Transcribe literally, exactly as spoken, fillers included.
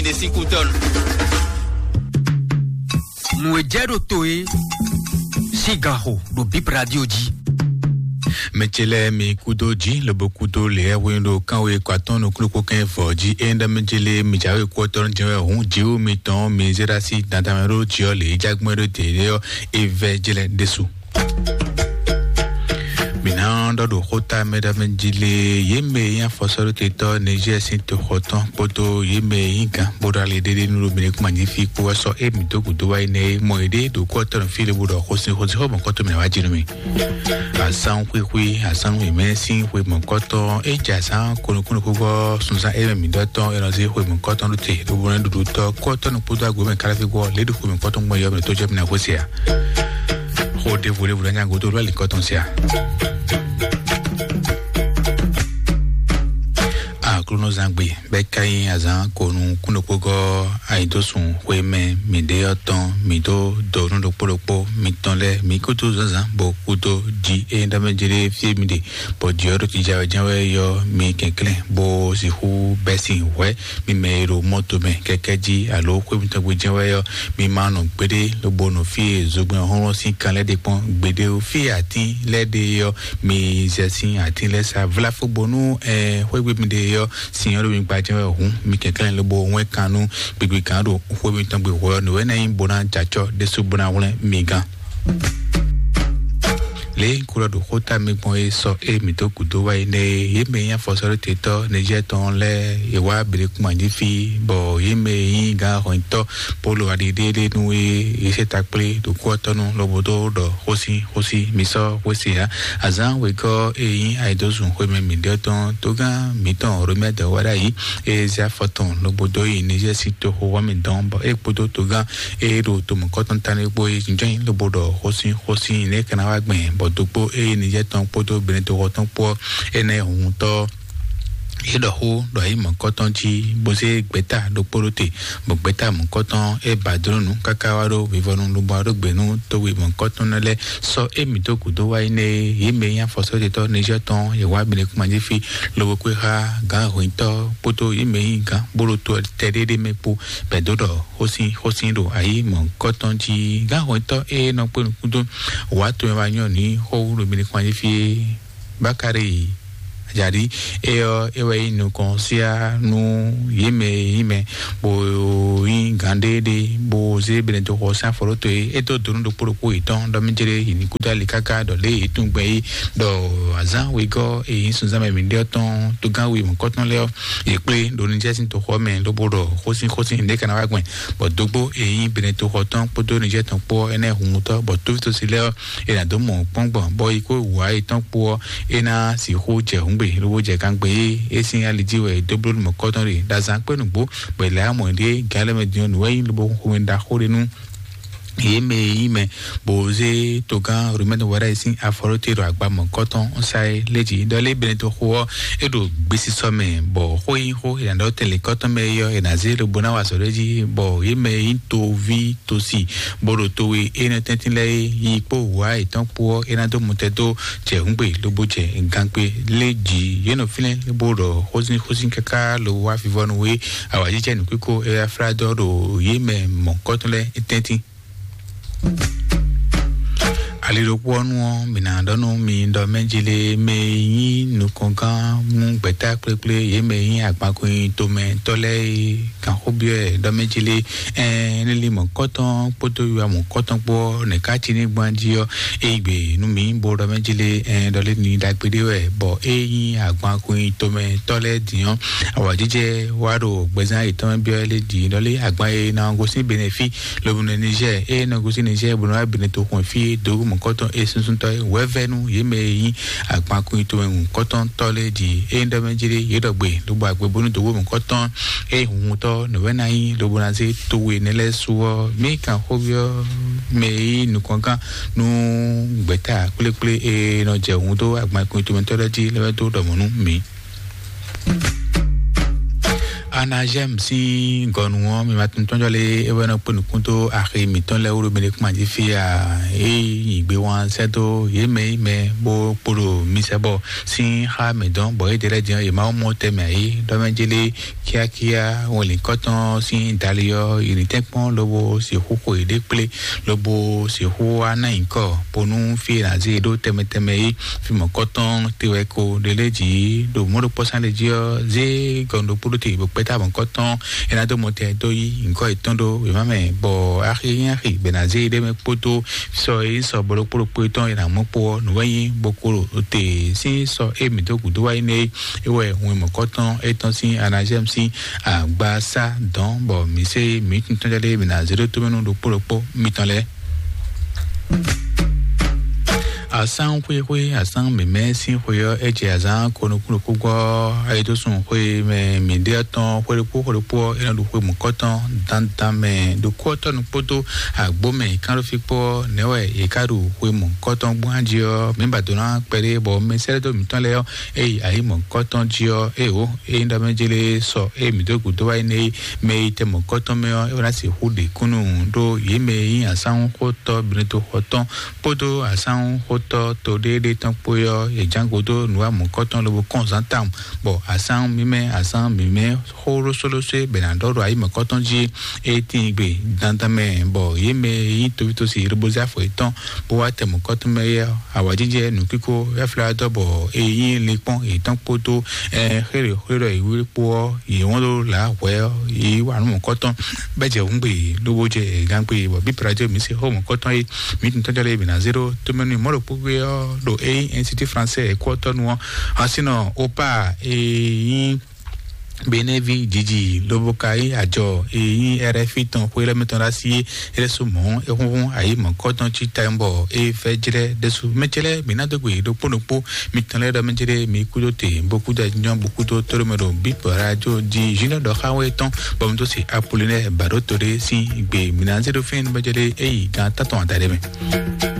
Ne sín kútɔ́nu. Nǔ e jɛ ɖo to e sín ganxo ɖo Bib Radio jí. Mɛ ce lɛ́ɛ mi kúdó jí, lobo kúdó lě e hwenu ɖo kánwe kɔ atɔ́n nukúnnú kɛn vɔ̌ jí. É ɖɔ mɛ ce lɛ́ɛ mi jǎwe kú ɔ́ tɔ́ jɛ wɛ hǔn jǐwú mitɔn mi zé ɖó así dandan mɛ ɖó jǐ ɔ́ lě e jágbɔn ɖó dě ɖé ɔ́, é vɛ́ jlɛ́ ɖésú. Mǐ ná ɖɔ ɖo xóta mɛ ɖɔ mɛ jí lé, yě mɛ e nyí afɔsɔ́ɖótetɔ́ Niger sín toxɔ tɔn kpódó yě mɛ e nyí gǎn bó ɖo ali ɖéɖé nú ɖo mǐɖé kúma jí fí kpó wɛ sɔ́ émí dó gǔdo wá yi nɛ́ é mɔ yěɖée ɖo kú ɔ́ tɔn fí lobó ɖɔ xó sín xó sín xó mɔ̌kɔ́tɔ́ mǐ ná wá jí nú mì. Azán xwixwi, azán wěmɛ sín xwe mɔ̌kɔ́tɔn é jɛ azán konukúnukúgɔ́ sunzán émɛ mǐ ɖɔ tɔn é nɔ zé xwe mɔ̌kɔ́tɔn ɖó te ɖo bó ná ɖuɖu tɔ́ kú ɔ́ tɔn kpódó agbo mɛ káláfí gbɔ lě ɖo xwe mɔ̌kɔ́tɔn gbɔn yɔ mɛ tó jɛ mì ná xwé se ǎ. Xo ɖěvo ɖěvo ɖo nyago tó lɔ lǐkɔ tɔn sia. Aklúnɔzangbe bɛ ka nyí azán konu kúnɖokpógɔ ayidósun xwémɛ mǐɖé ɔ́ tɔn mǐ dó donu ɖokpó ɖokpó mitɔn lɛ́ɛ mǐ kúdó zǎnzǎn bó kúdó jí é ɖɔ mɛ jlé fí mi ɖe bɔ jǐ ɔ́ ɖo jijɛ wɛ jɛ́n wɛ yɔ mi kɛnklɛ́n bó sixú bɛ́ sin hwɛ̌ mi mɛ e ɖo mɔto mɛ kɛkɛ jí alo xwé mitɔn gbe jɛ́n wɛ ɔ́, mi ma nɔ gbéɖé lobo nɔ fí e zogbɛ́n hlɔ́nhlɔ́n sín kan lɛ́ɛ ɖe kpɔ́n gbéɖé ó. Fí e atín lɛ́ɛ ɖe ɔ́, mi zɛ sín atín lɛ́ɛ sa vlafó bónú ɛ xwégbe mi ɖe ɔ́, sin ɔ́ ɖo mi gba jɛ́n wɛ hǔn mi kɛnklɛ́n lobo wɛn kan nú gbigbi kan ɖo xwé mitɔn gbe hwɛ ɔ́, nǔ wɛ ná nyí bó ná jɛ acɔ ɖésú bó ná hwlɛ́n mi gán. Lě e un ko ɖɔ ɖo xóta mi gbɔn é sɔ é mǐ dó gǔdo wá yi nɛ́ é, yě mɛ e nyí afɔsɔ́ɖótetɔ́ Nizɛ́ɛ tɔn lɛ́ɛ è wá Blekuma jí fí, bɔ yě mɛ e nyí gǎn hɔnyitɔ́ Polo aɖiɖéɖénu e è sɛ́ ta kplé ɖo kú ɔ́ tɔn nu lobo dó ɖɔ xósí xósí mi sɔ́ xwé se ǎ. Azǎn wegɔ́ e nyí ayǐdózun xwemɛ mǐɖée tɔn tógán mǐtɔn Romɛ́ dɔ̌ wá ɖ'ayǐ, e zé afɔ tɔn lobo dó yi Nizɛ́ɛ sín toxo ɔ́ mɛ dɔn, bɔ é kpódó togán e ɖo to mɔ̌kɔtɔn tánú é kpó é jínjɔ́n lobo ɖɔ xósín xósín nɛ̌ é ka ná wá gbɛn, bɔ dókpó e Nizɛ́ɛ tɔn kpódó Benetɔxɔ tɔn kpó ɔ́, é ná yi hunhuntɔ́. É ɖɔ xó ɖɔ ayǐ mɔ̌kɔtɔn jí, bó zé gbɛ̌ta ɖokpó ɖó te, bɔ gbɛ̌ta mɔ̌kɔtɔn é ba dó nǔ káká wá ɖó vivɔnu lobo wá ɖó gbě nú towe mɔ̌kɔtɔn lɛ́ɛ sɔ́ émí dó gǔdo wá yi nɛ́ é. Yě mɛ e nyí afɔsɔ́jɛtɔ́ Nizɛ́ɛ tɔn yě wá Benekuma jí fí, lobo kpé xá gǎn hwǐntɔ́ kpódó yě mɛ e nyí gǎn bó ɖo to tɛɖéɖé mɛ kpó bɛ̌ dó ɖɔ xósín xósín ɖo ayǐ mɔ̌kɔtɔn jí. Gǎn hwǐntɔ́ e nɔ kpé nukúndó wǎ to e wá nyɔ́ nǔ xó wú ɖo Benekuma jí fí é. Bakari Ajadi, é ɔ́, é wɛ nyí nukɔn síá nú yě mɛ e nyí mɛ, bó nyí gǎn ɖé ɖé, bó zé Benetɔxɔ sín afɔɖótó e é dó donu ɖokpó ɖokpó yětɔn ɖɔ mí jlé yi ní kúdó ali káká ɖɔ lě e yě tunwun gbɛn é, ɖɔ azǎn wegɔ́ e nyí sunzán mɛ mǐɖée ɔ́ tɔn tógán we mɔ̌kɔtɔn lɛ́ɛ ɔ́, yě kplé ɖo Nizɛ́ɛ sín toxɔ ɔ́ mɛ, lobo ɖɔ xósín xósín nǔɖé ka ná wá gbɛn, bɔ dógbó e nyí Benetɔxɔ tɔn kpódó Nizɛ́ɛ tɔn kpó ɔ́, énɛ́ hun mutɔ́, bɔ tóvítósi lɛ́ɛ ɔ́, è nǎ dó mɔ kpɔ́n gbɔn, bɔ yi kó wǔ ayetɔ́n kpó ɔ́, é ná sixú jɛ hǔngbe lobo jɛ gangbe e é sín ali jí wɛ è dó bló nú mɔ̌kɔtɔn ɖe ɖo azǎn kpé nǔgbó, bɔ è lɛ̌ amɔ̌ ɖíe gǎn lɛ́ɛ mɛ din ɔ́, nǔ wɛ nyí lobo xomɛ ɖaxó ɖé nú yě mɛ e nyí mɛ, bó zé togán Romɛ́nu wɛ ɖ'ayǐ sín afɔ ɖó te ɖo agba mɔ̌kɔtɔn sá é lé jí. Ɖɔ lé Benetɔxo ɔ́, é ɖo gbesisɔ mɛ, bɔ xó e nyí xó è nǎ ɖɔ tɛnlǐnkɔtɔn mɛ é ɔ́, è nǎ zé lobo ná wa azɔ̌ ɖ'é jí, bɔ yě mɛ e nyí toví tosi bó ɖo towe énɛ́ tɛ́ntin lɛ́ɛ é yi kpó wǎ yětɔn kpó ɔ́, é ná dó mutɛ́ dó jɛ hǔngbe lobo jɛ gankpe lé jǐ. Yě nɔ fínɛ́ bó ɖɔ xózínxózín káká lo wá vivɔnu wé awǎjijɛ nǔkíko Efládɔ ɖo yě mɛ mɔ̌kɔtɔn lɛ́ɛ tɛ́ntin. Ali ɖokpó ɔ́ nu ɔ́, mǐ ná ɖɔ nú mi ɖɔ mɛ jí lé mɛ e nyí nukɔngán mú gbɛ̌ta kplékplé yě mɛ e nyí agbankun tomɛ tɔ́ lɛ́ɛ é. Gǎnxóbyɔ́ ɛ ɖɔ mɛ jí lé, ɛɛ, énɛ́ lí mɔ̌kɔ́tɔn kpódó wiwa mɔ̌kɔ́tɔn kpó ɔ́, nɛ̌ ká cí ní gbɔn jí ɔ́, é yi gbe nú mǐ bó ɖɔ mɛ jí lé, ɛɛ, ɖɔ lé ní ɖagbe ɖé wɛ, bɔ é nyí agban kun nyi tomɛ tɔ́ lɛ́ɛ din ɔ́, awǎjijɛ wá ɖo gbɛzán yětɔn mɛ byɔ́ lé din ɖɔ lé agban e ná gosín Benɛfí lobo nɔ Nizɛ́ɛ, é nɔ gosín Nizɛ́ɛ bó nɔ wá Benɛ toxun fí é dǒ mɔ̌kɔ́tɔn é súnsúntɔ́ é wɛ̌vɛ́ nú yě mɛ e nyí agban kun nyi tomɛ mɔ̌kɔ́tɔn tɔ́ lɛ́ɛ din. É ɖɔ mɛ jí lé yě ɖɔ gbe lobo agbe bónú dǒ mɔ̌kɔ́tɔn é hunhuntɔ́ nǔ wɛ ná nyí lobo ná zé towe nɛ́ lɛ́ɛ su ɔ́, mǐ kan xóbyɔ́ mɛ e nyí nukɔngán nú gbɛ̌ta kplékplé e nɔ jɛ hun dó agban kun tomɛtɔ́ lɛ́ɛ jí lɛ́ wɛ dó ɖɔ mɔ̌ nú mǐ. Anazɛm sín gɔnu ɔ́, mi ma tunwun tɔ́njɔ lé, é wɛ nɔ kpé nukún dó axi mǐtɔn lɛ́ɛ wúɖú mi ɖe kpán jí fí a? É nyi gbé wán sɛ́ dó yě mɛ yi mɛ bó kpo ɖo mi sɛ bɔ sín xá mǐ dɔn, bɔ é ɖe lɛ́ din ɔ́, yě ma wó mɔ tɛmɛ ayǐ ɖɔ mɛ jélé kíákíá. Wɛnlǐnkɔ́tɔn sín dali ɔ́, yě ní tɛ́nkpɔ́n lobo sixú xo yěɖée kplé, lobo sixú wá ná nyǐkɔ bónú fí e nǎ zé yě ɖó tɛnmɛ tɛnmɛ é. Fí mɔ̌kɔ́tɔn te wɛ ko ɖe lé jǐ ɖo mɔ̌ ɖokpɔ́ sán ɖé jí ɔ́, zé gɔn ɖokpó ɖó te bó kpɛ́ tá mɔ̌kɔ́tɔn é ná dó mɔ tɛ dó yí nyǐkɔ yětɔn ɖó wěma mɛ, bɔ axi nyí axi gbɛ̌ ná zé yě ɖ'é mɛ kpódó sɔ e nyí sɔ bɔ ɖokpó ɖokpó tɔn e nǎ mɔ kpó ɔ́, nǔ wɛ nyí bó kpo ɖo te sín sɔ e mǐ dó gǔdo wá yi nɛ é. É wɛ hun e mɔ̌kɔ́tɔn étɔn sín Anazɛ́mu sín agba sá dɔ̌n, bɔ mǐ se mǐ tɔn tɔn lɛ́ɛ mǐ ná zé ɖó tómɛnú ɖokpó ɖokpó mitɔn lɛ́ɛ. Asán xwéxwé, asán mǐmɛ́ sín xwe ɔ́, é jɛ azǎn ko nukúnnukún gbɔ. Ayédósùn xwe mɛ mǐ ɖe ɔ́ tɔn xwé ɖokpó xwé ɖokpó ɔ́, é nɔ ɖu xwe mɔ̌kɔ́tɔn dandan mɛ ɖo kú ɔ́ tɔnu kpódó àgbó mɛ kánɖófí kpó ɔ́, nɛ̌ wɛ è ká ɖu xwe mɔ̌kɔ́tɔn gbɔn jí ɔ́, mǐ ba dó ná kpɛɖé bɔ mɛ sɛ́lɛ́ dó mǐtɔn lɛ́ɛ ɔ́, é yi ayǐ mɔ̌kɔ́tɔn jí ɔ́, é wǒ é nyí ɖɔ mɛ jélé sɔ é mǐ dó gǔdo wá yi nɛ́ é. Mɛ e tɛ mɔ̌kɔ́tɔn mɛ ɔ́, é wá ná sixú ɖe kúnnu ɖó yě mɛ e nyí asánwúxótɔ́ Benɛtoxɔ tɔn kpódó asánwúxótɔ́ to ɖéeɖée tɔn kpó é ɔ́, yě ján gǔdo nǔ wa mɔ̌kɔ́tɔn lobo kɔn zǎn tawun, bɔ asánwú mímɛ́ asánwú mímɛ́ xó lósólósó e bɛ ná ɖɔ ɖo ayi mɔ̌kɔ́tɔn jí é tíin gbe dandan mɛ, bɔ yě mɛ e nyí tovítosi lobo zé afɔ yětɔn bó wá tɛ mɔ̌kɔ́tɔn mɛ é ɔ́, awǎjijɛ nǔkíko ɛflá dɔ́ bɔ é nyí linkpɔ́n yětɔn kpódó xéɖé xwé ɖɔ yě wlí kpó ɔ́, yě wɔn ɖó lǎ hwɛ ɔ́, yě wá nú mɔ̌kɔ́tɔn bɛ́ jɛ hǔngbe lobo jɛ gangbe, bɔ bí prajo mǐ se xó mɔ̌kɔ́tɔn é. Mǐ tun tɔ́jɔ lé mǐ ná zé ɖó tómɛnú mɔ̌ ɖokpó gbé ɔ́ ɖo é nyí Institut Français Équateur nu ɔ́. Asínɔ opa e nyí Benevi jiji lobo ka yí ajɔ e nyí R F I tɔn xwé lɛ́ɛ mɛ tɔn ɖo asi é. É lɛ́ sú mɔ̌ é xúnxún ayǐ mɔ̌kɔ́tɔn cí tayɔ́nbɔ é fɛ́ jlɛ́ ɖésú. Mɛ ce lɛ́ɛ mǐ ná dó gbe ɖokpó ɖokpó mitɔn lɛ́ɛ ɖɔ mɛ ce lɛ́ɛ mǐ kúdó te bó kúdó anyɔ bó kúdó tóɖó mɛ ɖo bíbɔ radio di Junior ɖɔ xá wɛ tɔn bɔ mi dó se Apollinaire Baɖó to ɖé sín gbe mǐ ná zé ɖó fínɛ́ nú mɛ ce lɛ́ɛ é yi gán tɔn tɔn adaɖé mɛ.